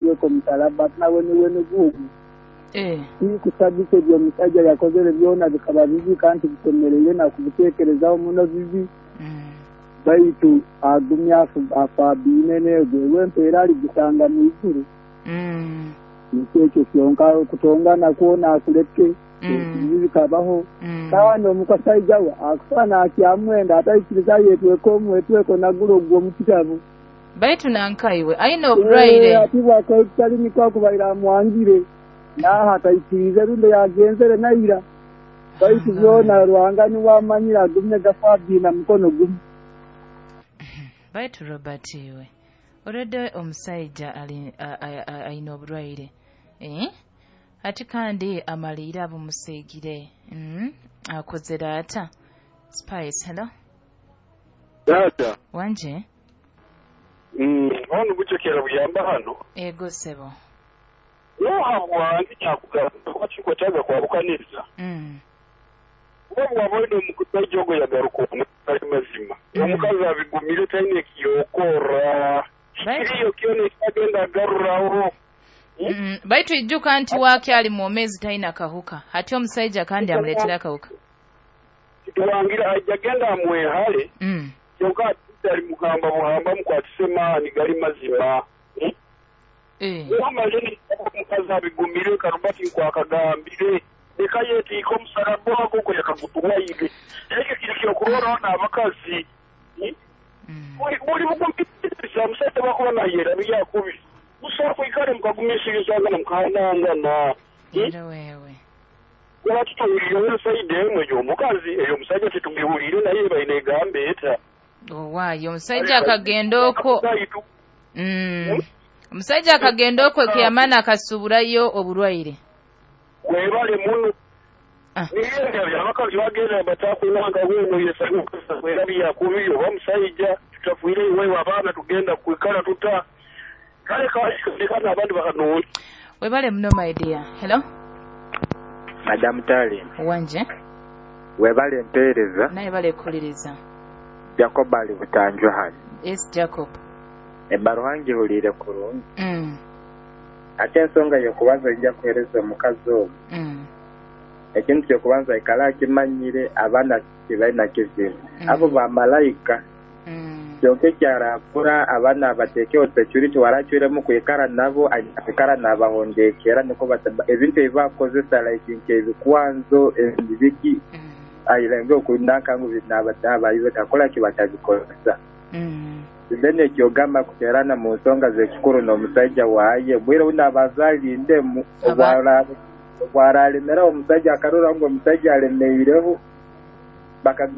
Yetweka omusalaba ati nawe niwe nigugu. Tikusagika ebyo omusajja yakozere byona bikaba bibi kandi bisemereire nakubiteekerezaho muno bibi. Baitu agumya afabiine negwe empeera aligisanga mu iguru. Nikyo ekyo kyonka kutongana kwona akuleke ebibi bikabaho. Kandi omukasaija we akusana akyamwenda ataikiriza yetweka omwetweko nagula ogwo mu kitabu. Baitu nankaiwe aine oburwaire. Ati bwakali niko akubaire amwangire naha ataikirize rundi yagenzere naira. Baitu byona Ruhanga niwe amanyire agumye gafabiina mukono gumu. Baitu Robert iwe already omusaija aine oburwaire ati kandi amaliire abumusiigire akozere ata. Spice, hello. Dada wanje ono buchekera buyamba hano ego sebo nohabwange kyakugamba wakikwetaga kwabukaniriza oba bwabone omukusajja ogwo yagaruka ali mazima omukazi abigumire taine kiyokora kiriyo kyona ekagenda agaruraho. Baitu ijuka nti wake ali mwomezi taina kahuka hati omusajja kandi amuletera kahuka tuwangira ajagenda amwehale kyonka ali mugamba buhamba mukwatise maani gali mazima. Omaleni omukazi abigumire karubati nkwakagambire leka yetiika omusalaba ogwo gwe yakagutuwaire ekyo kiri kyokurora n'abakazi buli bugumisiriza omusajja bakuba nayera byakubi musobola kwikara mukagumisiriza mukahanangana. Wewe kuba tutuwulire ensaidi emwe ey'omukazi eyo omusajja tetugiwulire naye baine egamba eta owaayo omusajja akagenda okwo omusajja akagenda okwo ekiyamana akasuburayo oburwaire. Webale muno niyenda abakazi bagenda batakuwanga weno yesanyuka byakubi oba musajja tutafuire iwe abaana tugenda kwikala tuta kale kalekana abandi bakanooli. Webale muno my dear. Hello Madam Tali. Wanje webale mpeereza naye bale kuliriza. Jacob ali Butanjwa hano. Yes Jacob. Ebbaluwa ngihuliire kurungi. Ate ensonga y'okubanza ojja kuheereza omukazi ogwo. Ekintu ky'okubanza aikale akimanyire abaana tibalina kizibu. Abo bamalayika. Kyonka ekyarakura abaana bateekeho security waracwiremu kwikara nabo kwikara nabahondekera niko ebintu ebibakozesa like nk'ebikwanzo ebibiki airenge okundanka ngu nabayibe takola ki batabikozesa. Then ekyogamba kuterana mu nsonga z'ekikuru n'omusajja waaye bwire unabazalinde obwaralemera omusajja akarora ngu omusajja alemeireho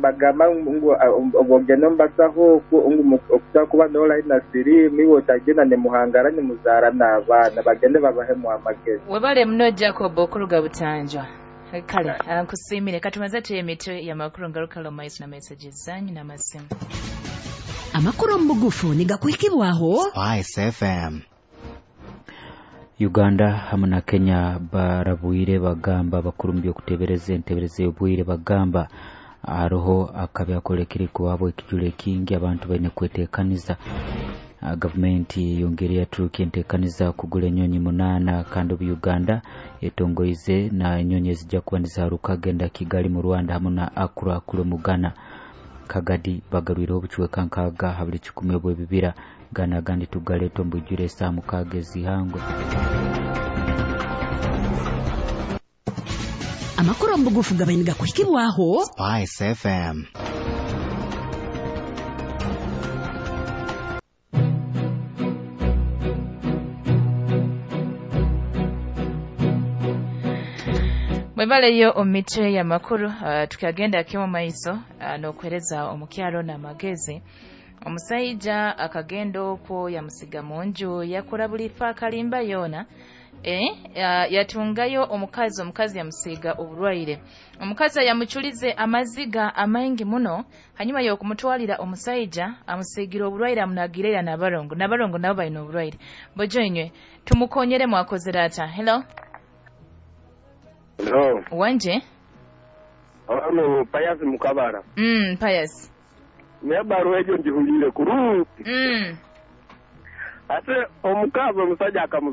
bagamba ngu obogenda mbasaho ngu okuba n'olaina sirimu iwe otagenda nemuhangara nemuzaara n'abaana bagende babahemu amagezi. Webale muno Jacob okuruga Butanjwa. Kale nkusiimire katumaze emitwe y'amakuru ngaruka maiso na messages zanyu n'amasimu. Amakuru mu bugufu nigakuhikibwaho Spice FM. Uganda hamwe na Kenya barabwire bagamba bakuru mu by'okutebereza entebereza y'obwire bagamba hariho akabi akolekere kuwabo ekijule kingi abantu baine kwetekaniza. Gavumenti yongere yaturuka entekaniza kugula enyonyi 8 kandi obu Uganda etongoize na enyonyi ezijja kuba nizaruka genda Kigali mu Rwanda hamwe na Accra kule mu Ghana. Kagadi bagarwire obucweka nkaaga ha buli 10 obw'ebibira Ghana gandi tugaleeta ombwijure esaaha 6 ezihangwe. Amakuru mu bugufu gabaine gakuhikibwaho Spice FM. Mwebaleyo omitwe ya makuru tukagenda kimo maiso n'okwereza omukyalo n'amagezi. Omusajja akagenda okwo yamusiga mu nju yakora buli fa kalimba yona yatungayo omukazi yamusiga oburwaire. Omukazi yamuchulize amaziga amaingi muno hanyuma y'okumutwalira omusajja amusigira oburwaire amunagirira n'abarongo nabo balina oburwaire. Bojo inywe tumukonyere mwakozera ata. Hello. Hello. Wanje? Hano Payasi Mukabara. Payasi. Nebaruwa ejo njihulire kurungi. Ate omukazi omusajja akamuza